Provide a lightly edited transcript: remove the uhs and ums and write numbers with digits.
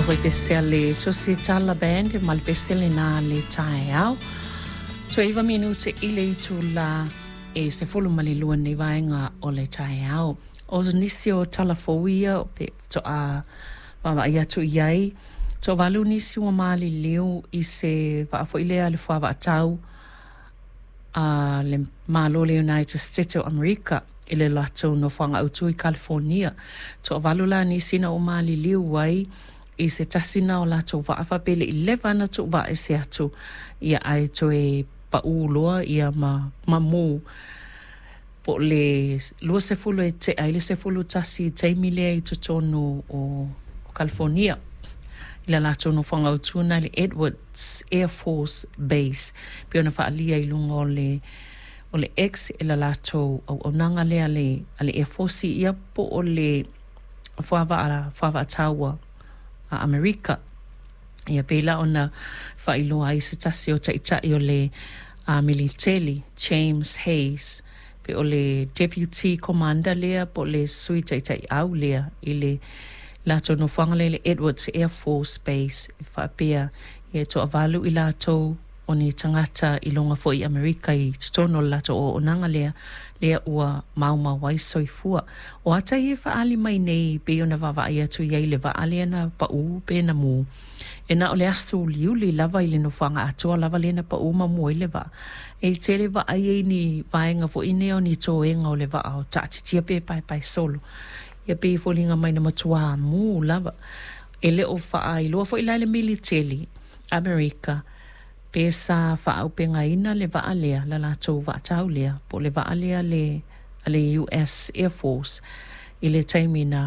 Foi pese a le Tusitala Band ma le pese lena le taeao. Toe 9 minute i le itula e 12 nei vaega o le taeao. O nisi o tala fou ia pe faatoa vaavaai atu i ai, toavalu nisi ua maliliu i se vaa foi lea a le fuavaatau a le Malo o le United States o Amerika i le latou nofoaga autu i California. Toavalu la nisi na ua maliliu ai i se tasi na o latou vaa faapea e le i leva ona tuuvaa ese atu ia ae toe pau loa ia ma mu po o le 20 e tea ai le 11 i le taimi lea i totonu o California i le latou nofoaga autu lena i le Edwards Air Force Base pei ona faaalia i luga o le o le X e le latou auaunaga lea a le a le Air Force ia po o le fuavaa fuavaa taua a Amerika. Ia pei la ona faailoa ai se tasi o taitai o le militeli, James Hayes, pe o le Deputy Commander lea po o le Sui Taitaiau lea i le latou nofoaga lea i le Edwards Air Force Base e faapea e toavalu i latou o ni tagata i luga foi i Amerika i totonu o le latou auaunaga lea, lea ua maumau ai soifua. O ata ia e faaali mai nei pei ona vaavaai atu i ai i le vaa lea na pau pe na mu, e na o le aso uliuli lava i le nofoaga atoa lava lea na pau ma mu ai le vaa. E tele vaa ia i ni vaega foi nei o ni toega o le vaa o taatitia pe paepae solo. Ia pei e foliga mai na matuā mu lava. E le o faailoa foi la e le militeli Amerika pe sa faaaupegaina le vaa lea, le latou vaa tau lea, po o le vaa lea a le, a le US Air Force i le taimi na